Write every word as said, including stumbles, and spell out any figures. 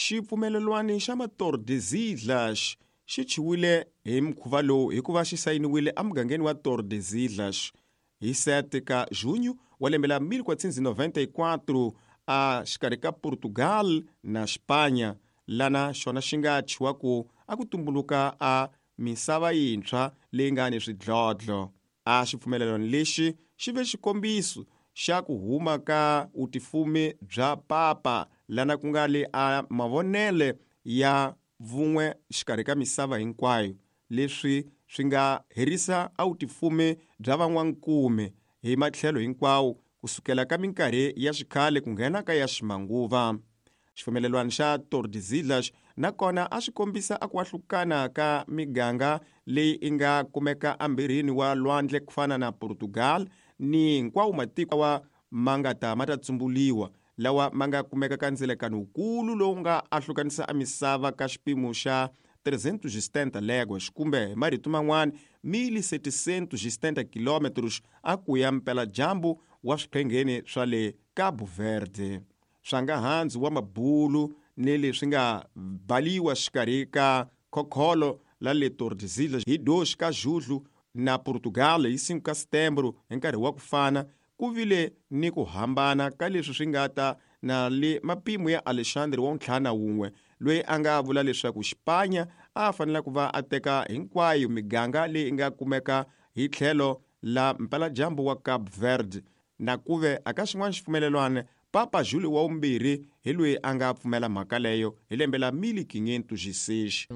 Xipfumelelwano xa Tordesillas xi chiwile hi mukhuva lowu hikuva xi sayiniwile emugangeni wa Tordesillas hi sete ka junho wa lembe la mil quatrocentos e noventa e quatro a xikarhi ka Portugal na Espanha, lana xona xi nga chiwa ku a ku tumbuluka a misava yintshwa leyi nga ni swidlodlo. A xipfumelelwano lexi xi ve xikombiso xa ku huma ka vutifumi bya papa, lana ku nga le a mavonele ya vun'we xikarhi ka misava hinkwayo, leswi swi nga herisa a vutifumi bya van'wankume hi matlhelo hinkwawo kusukela ka minkarhi ya xikhale ku nghena ka ya ximanguva. Xipfumelelwano xa Tordesillas nakona a swi kombisa a ku ahlukana ka miganga leyi i nga kumeka embirhini wa lwandle ku fana na Portugal ni hinkwawo matiko wa ma nga ta ma ta tsumbuliwa lawa ma nga kumeka ka ndzilekano wukulu lowu nga ahlukanisa a misava ka xipimo xa trezentos e setenta léguas, kumbe hi marito man'wana mil setecentos e setenta quilômetros a ku ya mpeladyambu wa swiphengeni swa le Cabo Verde. Swa nga handzu wa mabulu ni leswi nga baliwa xikarhi ka khokholo la le Tordesillas hi dois ka julho na Portugal hi cinco ka setembro hi nkarhi wa ku fana, ku vile ni ku hambana ka leswi swi nga ta na le mapimo ya Alexandre wa ntlhanu na wun'we, loyi a nga vula leswaku Xipanya a fanele ku va a teka hinkwayo miganga leyi nga kumeka hi tlhelo la mpeladyambu wa Cape Verde. Na kuve aka xin'wana xipfumelelwana, Papa Júlio wa vumbirhi hi loyi a nga pfumela mhaka leyo hi lembe la mil quinhentos e seis.